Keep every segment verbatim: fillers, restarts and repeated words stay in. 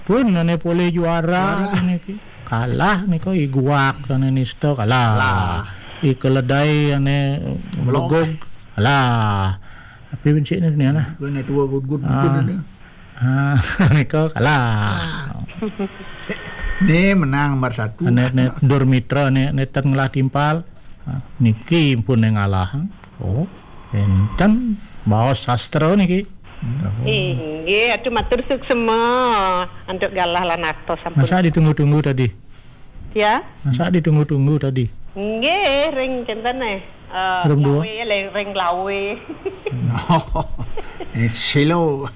Pun ane polih juara niki. Kalah nika I Guak ane Nista kalah. Kalah. I Keledai ane Blok. Blegog kalah. Tapi bencik ni ni nah. Kena tua gud-gud Ah. Gud ni. Ah, nika kalah. Ah. Ni menang nomor satu. Ane ne Dur Mitra ne, ne ten ngelah timpal. Ah, niki pun ne ngalah. Oh, enten baos sastra niki. Inggih, atu matur suksema antuk galah lan atos sampun. Masa ditunggu-tunggu tadi? Ya? Masa ditunggu-tunggu tadi? Inggih, ring kenten eh. Eh, Ring dua. Lawe, ring, ring lawe. Eh, silo.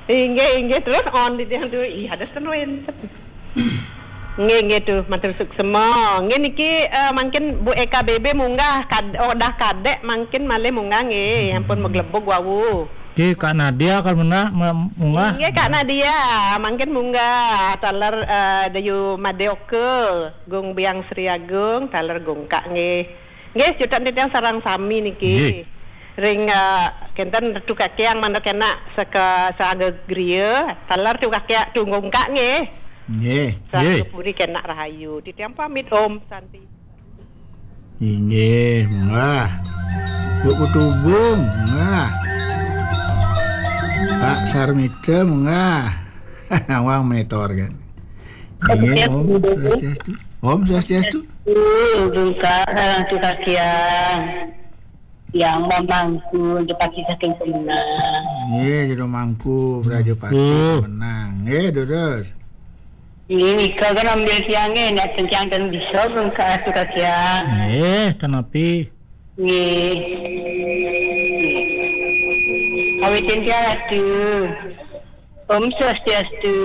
Inggih, inggih, terus on di tiang tu. Ih, ada seru enten. Nggih, nggih tu, matur suksema. Nggih niki, eh, mangkin Bu Eka B B munggah, kad-, oh, dah kadek mangkin malih munggah nggih, ampun maglebug wau. Ki Kak Nadia kan mena-, me-, munggah. Nggih, Kak Nadia, mangkin munggah, taler, eh, Dayu Madeoka, Gung Biang Sri Agung, taler Gung Kak nggih. Nggih, cutet titiang sareng sami niki. Nggih. Ring, eh, kenten Ratu Kakiang mangda kena seka saga griya, taler Tu Kakiang Tu Gung Kak nggih. Nggih. Saga Nggih. Puri kena rahayu. Titiang pamit, Om Santi. Inggih, munggah. Bu Putu Gung, munggah. Pak Sarmita, munggah. Nawang monitor kan. Inggih, Om Swastiastu. Om Swastiastu. Gung Kak, sareng Ratu Kakiang. Yang mamangku, Jepati saking Pemenang. Nggih, jero mangku, Praja Pati Mangku. Pemenang. Nggih, terus. Nggih, nika kan ambil tiang nggih, nek tiang ten bisa, Gung Kak, Ratu Kakiang. Nggih, ten api. Nggih. Awitin tiang Ratu. Om Swastiastu.